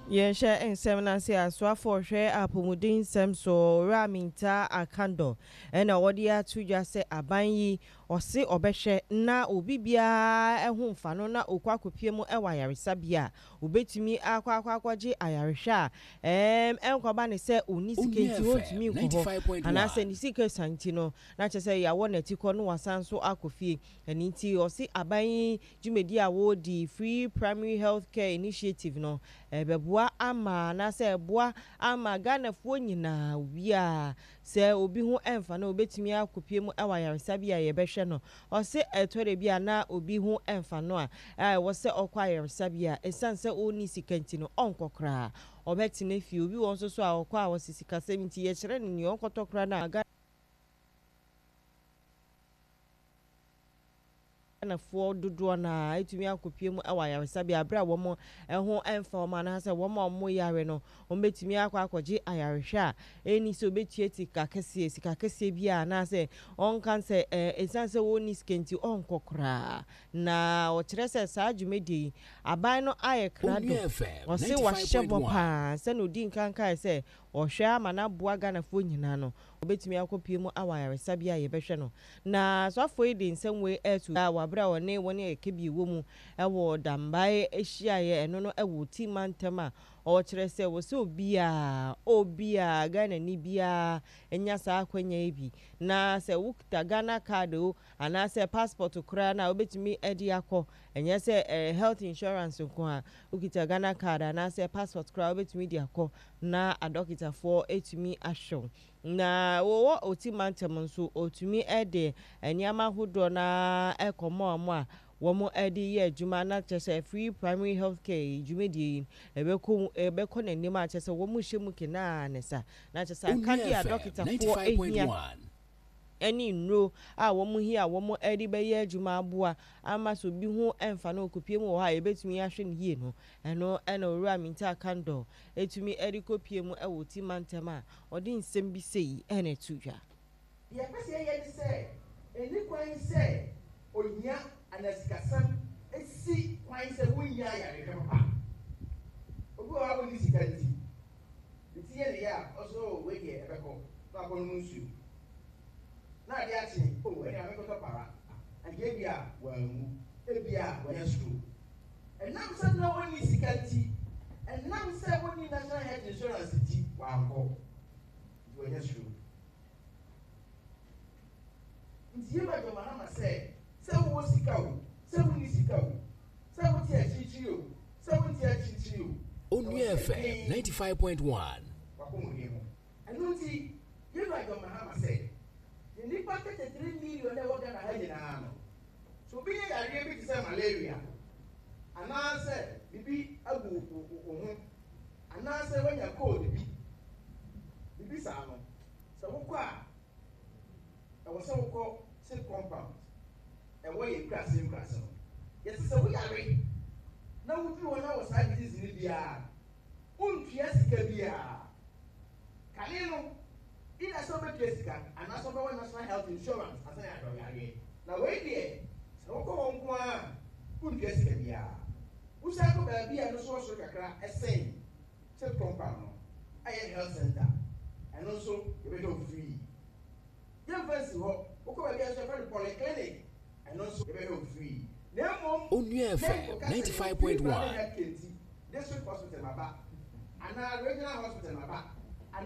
Yɛnhyɛ nsɛm no ase asoafoɔ hwɛ apɔmuden nsɛm so Owura Mintah Akandoh ɛna ɔde ato dwa sɛ aban yi ɔse ɔbɛhwɛ na obi biara ho mfa no na ɔkɔ akɔpie mu ɛwɔ ayaresabea a obɛtumi akɔ akɔ akɔgye ayarehwɛ a ɛnkɔba ne sɛ ɔnni sika nti ɔntumi nkɔ hɔ anaasɛ ne sika sa nti no na kyerɛ sɛ yɛawɔ n'ati kɔ no wasan so akɔ fie. Ɛno nti ɔse aban yi dwumadi a wɔredi Free Primary Health Care Initiative no ɛbɛboa ama anaasɛ ɛboa ama Ghanafoɔ nyinaa obiara sɛ obi ho ɛmfa no obɛtumi akɔpie mu ɛwɔ ayaresabea a yɛbɛhwɛ no. Ɔse ɛtɔ da bi a na obi ho ɛmfa no a ɛwɔ sɛ ɔkɔ ayaresabea ɛsiane sɛ ɔnni sika nti no ɔnkɔ koraa ɔbɛtena fie. Obi wɔ nso so a ɔkɔ a wɔse sikasɛm nti yɛkyerɛ no nea ɔnkɔtɔ koraa no a Ghanafoɔ dodoɔ no a ɛtumi akɔpie mu wɔ ayaresabea berɛ a wɔn ho mfa wɔn anaasɛ wɔn a wɔn yare no wɔn bɛtumi akɔ akɔgye ayarehwɛ a ɛni sɛ wɔbɛtua sika kɛseɛ sika kɛseɛ bi a anaasɛ ɔnka sɛ ɛsiane sɛ wɔnni sika nti ɔnkɔ koraa. Na ɔkyerɛ sɛ saa dwumadie yi aban no ayɛ krado ɔse wahyɛ bɔ paa sɛna ɔdi nkankae sɛ ɔhwɛ ama no aboa Ghanafoɔ nyinaa no wɔbɛtumi akɔpie mu awɔ ayaresabea a yɛbɛhwɛ no. Na soafoɔ yi de nsɛm wei ɛto dwa wɔ abere a ɔne wɔn a ɛka bi wɔ mu ɛwɔ Dambae ahyiaeɛ ɛno no ɛwɔ Oti mantam a ɔkyerɛ sɛ wɔ sɛ obiara obiara Ghanani biara nya saa akwanya yi bi na sɛ wokita Ghana card o anaasɛ passport koraa na wobɛtumi de akɔ ɛnyɛ sɛ health insurance nko a wokita Ghana card anaasɛ passport koraa wobɛtumi de akɔ na adɔkitafoɔ etumi ahwɛ wo. Na wɔwɔ Oti mantam nso otumi de nneɛma ahodoɔ na ɛkɔmɔ wɔn a wɔn de yɛ adwuma na kyerɛ sɛ free primary health care dwumadie yi ɛbɛkɔ ɛbɛkɔ n'anim a kyerɛ sɛ wɔn hyɛ mu kenaa ne sa na kyerɛ sɛ akadeɛ a dɔkitafoɔ ehia ɛne nnuro a wɔn hia a wɔn de bɛyɛ adwuma aboa ama sɛ obi ho ɛmfa no okopie mu wɔ hɔ a yɛbɛtumi ahwɛ no yie no ɛno ɛna Owura Mintah Akandoh etumi de kɔpie mu ɛwɔ Oti mantam a ɔde nsɛm bi sei ɛna ɛto dwa. Deɛ ɛpɛ sɛ yɛyɛ ne sɛ, ɛnni kwan sɛ ohia anaa sikasɛm si kwan sɛ wonnya ayarehwɛ papa. Obi wɔ hɔ a onni sika nti, ne ti yɛ ne ya a, ɔse oh wei deɛ ɛbɛkɔ, na wakɔnom nsuo. Na ade akye, oh ɛnneɛ ma menkɔtɔ para. Anka ebia wanwu, ebia wanya stroke. Ɛnam sɛ na onni sika nti, ɛnam sɛ onni National Health Insurance nti, wankɔ. Nti wanya stroke. Nti yɛma John Mahama sɛ, sɛ wowɔ sika o, sɛ wonni sika o, sɛ wote akyirikyiri o, sɛ wonte akyirikyiri o, Onua FM 95.1. W'apɔmuden ho. Ɛno nti, yɛma John Mahama sɛ, yɛn nnipa 33 million a ɛwɔ Ghana ha nyinaa no, sɛ obi nya yareɛ bi te sɛ malaria, anaasɛ biribi agu wo ho, anaasɛ woanya cold bi, biribi saa no, sɛ wokɔ a, ɛwɔ sɛ wokɔ CHPS compound ɛwɔ yɛn nkurase nkurase no. Yɛte sɛ woyare na woduru hɔ na wɔ saa disease no biara, wontua sika biara. Kane no, either sɛ wobɛtua sika anaasɛ wobɛwɔ National Health Insurance asan yɛ ahwɛ wo yareɛ. Na wei deɛ, sɛ wokɔ hɔ nko ara a, wontua sika biara. Wosan kɔ baabi a ɛno nso wɔ soro kakra ɛsɛn CHPS compound no, a ɛyɛ health center, ɛno nso yɛbɛhwɛ wo free. Yɛmfa nsi hɔ, wokɔ baabi a nso yɛfrɛ no polyclinic, ɛno nso yɛbɛhwɛ wo free. Na mmom, Onua FM yɛnkɔka sɛ yɛwɔ free 95.1. primary health care nti, district hospital maba, anaa regional hospital maba.